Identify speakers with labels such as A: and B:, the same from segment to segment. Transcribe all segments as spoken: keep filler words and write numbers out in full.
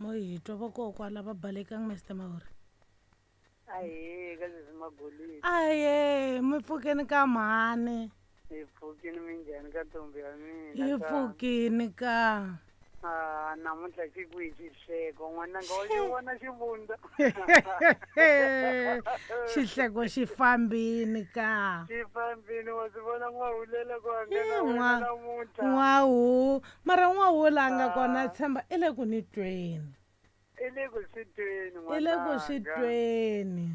A: Mo hi twa vakokwala va balekang Mister Maori.
B: Ahee, ka sesi Magolidi.
A: Ahee, mi pfukeni ka mhani.
B: Hi pfukini minjhani ka ntombi ya mina.
A: Hi pfukini ka.
B: Ah, namuntlha xi kwihi xihleko n'wananga wa xi vona xivundza.
A: Xihleko xi fambini ka.
B: Xi fambini wa swi vona n'wahulela ku hangana wena namuntlha.
A: N'wahu, mara n'wahula a nga kona tshemba i le ku ni tweni.
B: I le ku swi tweni
A: I le ku swi tweni.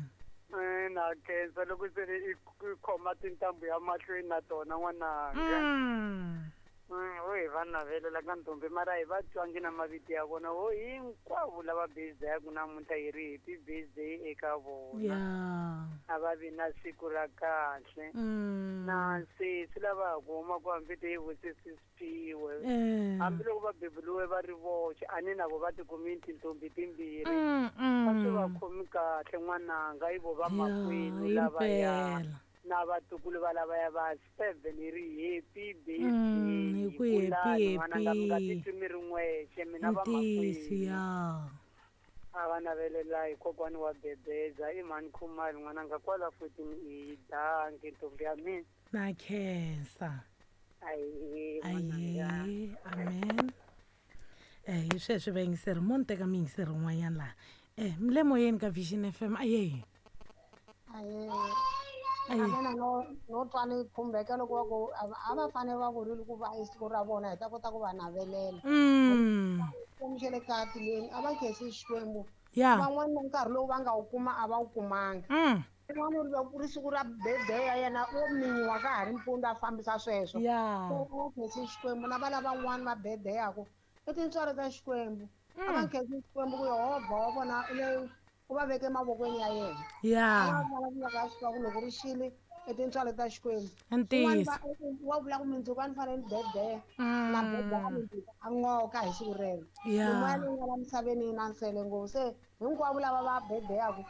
B: Eh, na khensa loko se i khoma tintambu ya mahlweni na tona n'wananga.
A: Mm.
B: Wo hi va navelela ka ntombi mara hi va twangi na mavito ya vona wo hinkwavo lava birthday-aku namuntlha hi ri happy birthday eka vona.
A: Yeah.
B: A va vi na siku ra kahle.
A: Mm.
B: Na sesi lava ha ku huma ku hambi ti hi vusisi Siphiwe.
A: Eh.
B: Hambiloko va beburiwe va ri voxe a ni na vo va ti kumile tintombi timbirhi.
A: Mm, mm.
B: Va swi va khomi kahle n'wananga i vo va makwenu lavaya.
A: Impela.
B: Na vatukulu va lavaya va seven hi ri happy birthday.
A: Mm, hi ku happy,
B: Kulani n'wananga mi nga
A: happy.
B: titwi mi ri n'wexe mina va
A: Ntiyiso,
B: makwenu.
A: ya.
B: A va navelela hi kokwani wa Bebeza i mhani Khumalo n'wananga kwala fourteen i danki ntombi ya mina.
A: Na khensa.
B: Ahee, n'wananga.
A: Ahee, amen. Eh, hi sweswi vayingiseri mo ni teka miyingiseri un'wanyana laha. Eh, mi le moyeni ka Vision F M. Ahee.
C: Ahee.
A: Ahee.
C: A mina no, no twa ni khumbeka loko va ku, a va, a va fanele va vurile ku va i siku ra vona hi ta kota ku va navelela.
A: Mm.
C: Xikwembu xa le kaya tilweni, a va khensi Xikwembu.
A: Ya.
C: Van'wani na nkarhi lowu va nga wu kuma a va wu kumanga.
A: Mm.
C: Un'wana u ri ku ri siku ra birthday ya yena wo minyiwa ka ha ri mpundzu a fambisa sweswo.
A: Ya.
C: So, a va khensi Xikwembu na va lavan'wana va birthday-aku i tintswalo ta Xikwembu. A va
A: Mm.
C: khensi Xikwembu ku Yehovha wa vona u le u va veke mavokweni ya yena.
A: Ya.
C: A va vulavulaka a swi tiva ku loko ri xile i tintswalo ta Xikwembu.
A: Ntiyiso.
C: Un'wana va, wa vula ku mundzuku a ni fanele ni birthday. Na birthday a mundzuku a n'oka hi siku rero.
A: Ya.
C: Mimoya leyi nga la misaveni yi na nsele ngopfu. Se hinkwavo lava va birthday-aku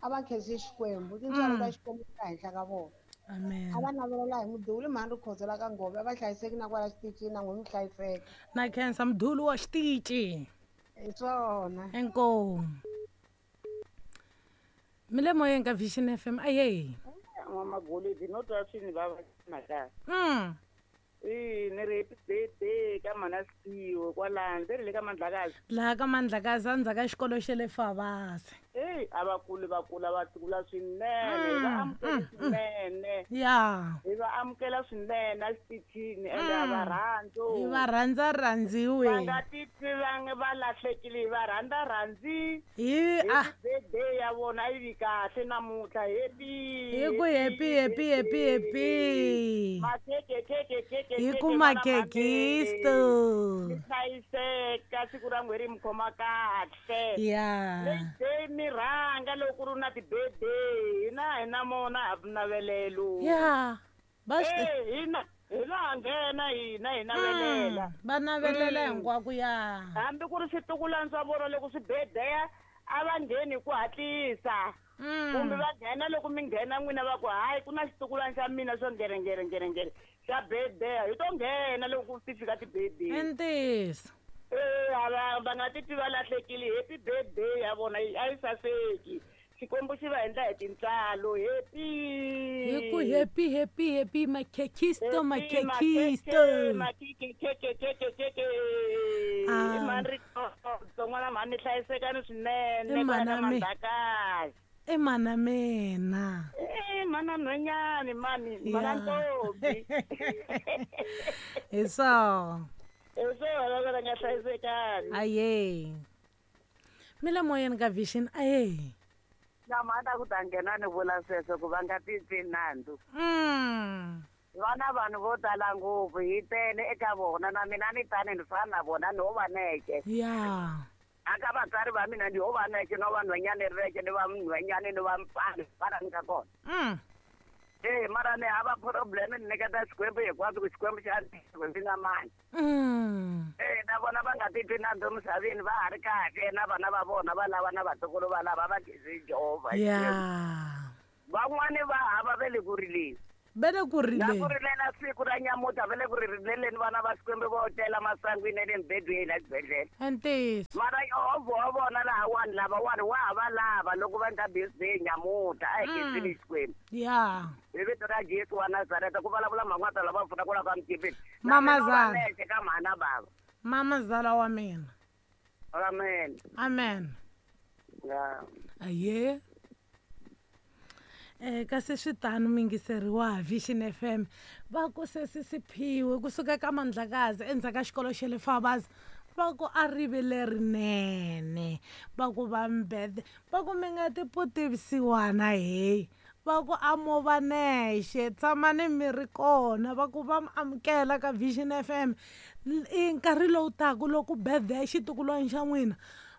C: a va khensi Xikwembu. Tintswalo ta
A: Mm.
C: Xikwembu ti ka henhla ka vona.
A: Amen.
C: A va navelela hi muduli mhani Rikhotso la ka Ngove, a va hlayiseki na kwala xitichini na n'we mi hlayiseka.
A: Na khensa muduli wa xitichi.
C: Hi swona.
A: Inkomu. Mi le moyeni ka Vision F M. Ahee.
B: N'wamagolidi no twa swi ni vava mhaka.
A: Mm.
B: E ni ri happy birthday ka mhana Siphiwe kwalano, ve ri le ka Mandlakazi.
A: Laha ka Mandlakazi endzhaku ka xikolo xa le Favasi.
B: Eyi, a va kuli va kula va kula swinene, hi va
A: Mm,
B: amukela
A: mm, mm.
B: swinene.
A: Ya.
B: Hi va amukela swinene exitichini ende a va
A: Mm.
B: rhandzi.
A: Hi va rhandza rhandziwe.
B: Va nga titwi va nga va lahlekile, hi va rhandza rhandzi.
A: Hi,
B: Happy
A: ah.
B: birthday ya vona a yi vi kahle namuntlha. Happy,
A: Hi ku happy, happy, happy, happy.
B: Makhekhe, khekhe, khekhe,
A: Hi ku
B: khekhe, vana
A: makhekisto.
B: mhani. Mi hlayiseka siku ra n'we ri mi khoma kahle.
A: Ya.
B: Leyi day mi rhanga loko ku ri na ti-birthday, hina hi na mona ha navelelo.
A: Ya. Va swi
B: Eh, hina, hina ha nghena hina hi navelela.
A: Mm, va navelela
B: Mm.
A: hinkwako ya.
B: Hambi ku ri switukulwana swa vona loko swi birthday a va ngheni hi ku hatlisa.
A: Mm.
B: Kumbe va nghena loko mi nghena n'wina va ku hayi ku na xitukulwana xa mina xo nghere nghere nghere nghere xa birthday, hi to nghena loko ti fika ti-birthday.
A: I ntiyiso.
B: Eh, a va, va nga titwi va lahlekile. Happy birthday ya vona a yi saseki. Xikwembu xi va endla hi tintswalo. Happy.
A: Hi ku happy, happy, happy, makhekisto,
B: Happy,
A: makhekisto.
B: makhekhe, makhekhe, khekhe, khekhe.
A: Ah.
B: I mhani Rikhotso, n'wana mhani ni hlayisekani swinene,
A: I mhana
B: kwala ka
A: mi.
B: Mandlakazi.
A: I mhana mina.
B: Eh, mhana nhwenyani, mhani, mhana
A: Ya.
B: ntombi.
A: Hi swona.
B: Hi swona va nga hlayisekani.
A: Ahee. Mi le moyeni ka Vision. Ahee.
B: Na mhana ku ta nghena ni vula sweswo ku va nga titwi nandzu.
A: Mm.
B: Vana vanhu vo tala ngopfu hi tele eka vona na mina ni tani ni fana na vona ni ho va neke.
A: Ya.
B: Aka vatswari va mina ni ho va neke no va nhwenyani reke ni va nhwenyani ni va mfana fana ni ka kona.
A: Mm.
B: Eh, mara ni hava problem ni nyiketa Xikwembu hinkwaswo ku Xikwembu xa ni ndzi nga mani.
A: Mm.
B: Eh, na vona va nga titwi nandzu emisaveni va ha ri kahle na vana va vona va lava na vatukulu va lava va khensi Jehovha.
A: Ya.
B: Van'wani va hava ve le ku rileni.
A: Va le ku
D: Na
A: rileni.
D: ku rilela siku ra nyamuta va le ku ri rileleni vana va Xikwembu vo tela masangwini ya le mibedweni la xibedhlele.
A: Ntiyiso.
D: Mara Yehovha wa vona lahawani lavawani wa ha va lava loko va endla birthday nyamuta a hi khensile Xikwembu.
A: Ya.
D: Hi vito ra Jesu wa Nazareta ku vulavula mhan'wata lava pfunaka la ka Mukipiti.
A: Mamazala.
D: Nexe ka mhana bava.
A: Mamazala wa mina.
D: Amen.
A: Amen.
D: Ya.
A: Aye. Eh kasi swi tano mingiseriwa Vision F M va ku sesi Siphiwe kusuka ka Mandlakazi endzhaku ka xikolo xa le Fabazi va ku a rive lerinene va ku va mbede va ku mi nga ti putivisiwana hey va ku a mo va nexe tshamani mi ri kona va ku va mi amukela ka Vision F M i nkarhi lowu taka loko birthday ya xitukulwana xa n'wina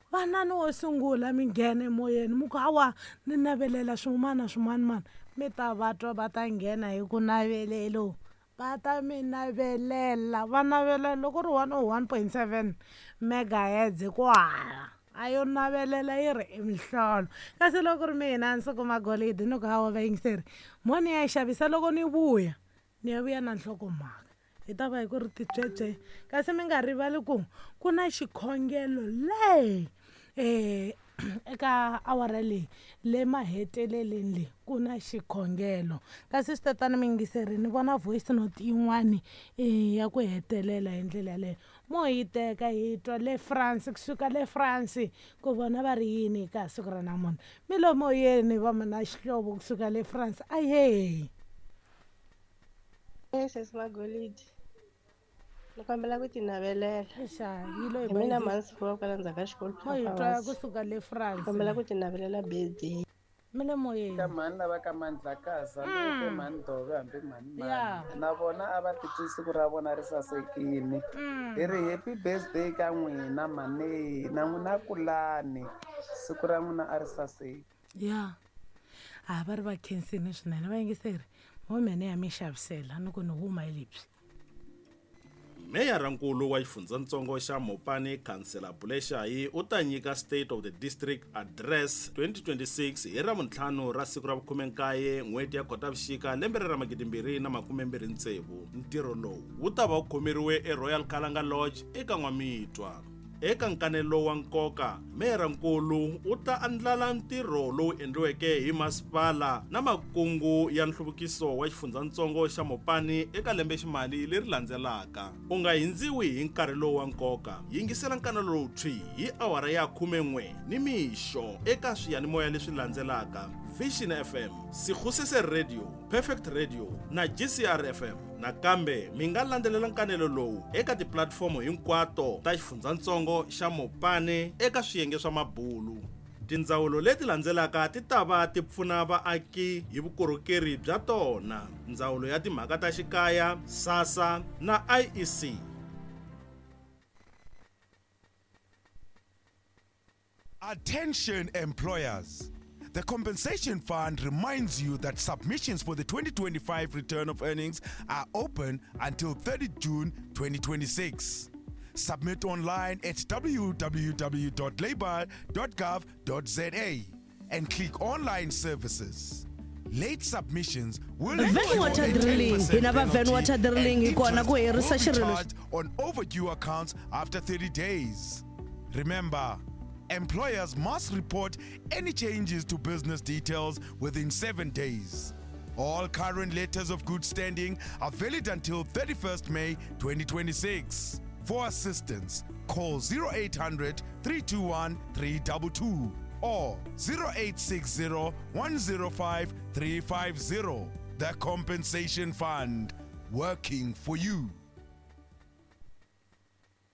A: vanani wo sungula mi nghena emoyeni mi ku hawa ni navelela swin'wana na swin'wana mani mi ta va twa va ta nghena hi ku navelelo va ta mi navelela va navelela loko ri one oh one point seven megahertz hi ku hala a yo navelela yi ri i mihlolo kasi loko ri mina ndzi kuma golidi ni ku hawa vayingiseri mo ni ya xavisa loko ni vuya ni ya vuya na nhlokomhaka hi ta va hi ku ri titswetswe kasi mi nga rivali ku ku na xikhongelo le eh eka awara leyi le maheteleleni leyi ku na xikhongelo kasi swi tatana mi yingiseri ni vona voice note yin'wani ya ku hetelela hi ndlela yaleyo mo yi teka hi twa le France kusuka le France ku vona va ri yini ka siku ra namuntlha mi lo moyeni va mina xihlovo kusuka le France aye.
E: Sesi Magolidi ni kombela ku ti navelela.
A: Xa yi lo
E: hi mina mhani kwala ndzhaku ka xikolo
A: mo hi twa kusuka le France
E: kombela ku ti navelela birthday.
A: Mi le moyeni
F: ka mhani lava ka Mandlakazi hambi ku mhani Dove hambi mhani mani na vona a va titwi siku ra vona ri sasekile hi ri happy birthday ka n'wina mhani na n'wina kulani siku ra n'wina a ri saseki.
A: Ya a va ri va khensini swinene va yingiseri mo mene ya mi xavisela ni ku ni huma hi lebyi.
G: Meyarankulu wa xifundzatsongo xa Mopani Khansela Buleshayi u ta nyika State of the District Address twenty twenty-six hi Ravuntlhanu ra siku ra vukhume-nkaye n'hweti ya Khotavuxika lembe ra magidi mbirhi na makume mbirhi tsevu. Ntirho lowu wu ta va wu khomeriwe eRoyal Kalanga Lodge eka N'wamitwa. Eka nkanelo wa nkoka, meyarankulu u ta andlala ntirho lowu endliweke hi masipala na makungu ya nhluvukiso wa xifundzatsongo xa Mopani eka lembeximali leri landzelaka. U nga hindziwi hi nkarhi lowu wa nkoka. Yingisela nkanelo lowu thwi hi awara ya khumen'we ni mixo eka swiyanimoya leswi landzelaka: Vision F M, Sekgosese Radio, Perfect Radio na G C R F M. Nakambe mi nga landzelela nkanelo lowu eka tipulatifomo hinkwato ta xifundzatsongo xa Mopani eka swiyenge swa mabulu. Tindzawulo leti landzelaka ti ta va ti pfuna vaaki hi vukorhokeri bya tona: Ndzawulo ya Timhaka ta Xikaya, SASSA na I E C.
H: Attention employers. The Compensation Fund reminds you that submissions for the twenty twenty-five return of earnings are open until thirtieth June twenty twenty-six. Submit online at w w w dot labour dot gov dot z a and click Online Services. Late submissions will
I: Van Water Drilling. Hina va Van Water Drilling hi kona ku herisa xirilo
H: on overdue accounts after thirty days. Remember, employers must report any changes to business details within seven days. All current letters of good standing are valid until thirty-first May twenty twenty-six. For assistance, call zero eight hundred, three two one, three two two or zero eight six zero, one zero five, three five zero. The Compensation Fund, working for you.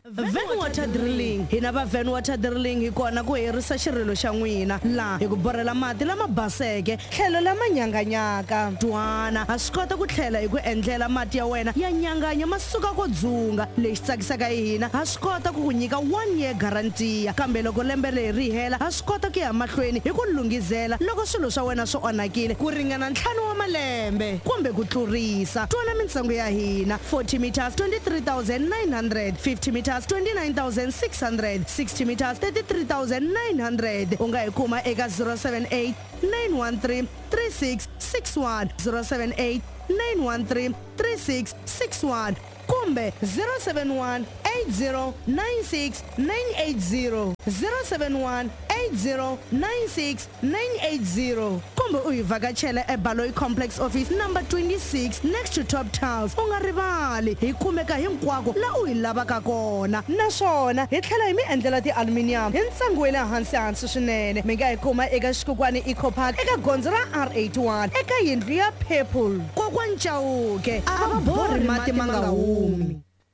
I: Van Water Drilling. Hina va Van Water Drilling hi kona ku herisa xirilo xa n'wina laha hi ku borhela mati lama baseke tlhelo lama nyanganyaka. Twana ha swi kota ku tlhela hi ku endlela mati ya wena ya nyanganya ma suka ko dzunga. Lexi tsakisaka hi hina ha swi kota ku ku nyika one year guarantee, kambe loko lembe leri ri hela ha swi kota ku ya mahlweni hi ku lunghizela loko swilo swa wena swi onhakile ku ringana ntlhanu wa malembe kumbe ku tlurisa. Twana mintsengo ya hina: forty meters twenty-three thousand nine hundred, fifty meters twenty-nine thousand six hundred, sixty meters thirty-three thousand nine hundred. U nga hi kuma eka zero seven eight, nine one three, three six six one, zero seven eight, nine one three three six six one kumbe zero seven one eight zero nine six nine eight zero zero seven one eight zero nine six nine eight zero kumbe u hi vhakachela eBaloyi Complex Office number twenty-six next to Top Tiles. U nga rivali hi kumeka hinkwako la u hi lavaka kona, naswona hi tlhela hi mi endlela ti-aluminium hi ntsengo wa le hansi hansi swinene. Mi nga hi kuma eka Xikokwani Eco Park eka gondzo ra R eighty-one eka yindlu ya Purple. Kokwani Chauke a va borhi mati ma nga humi.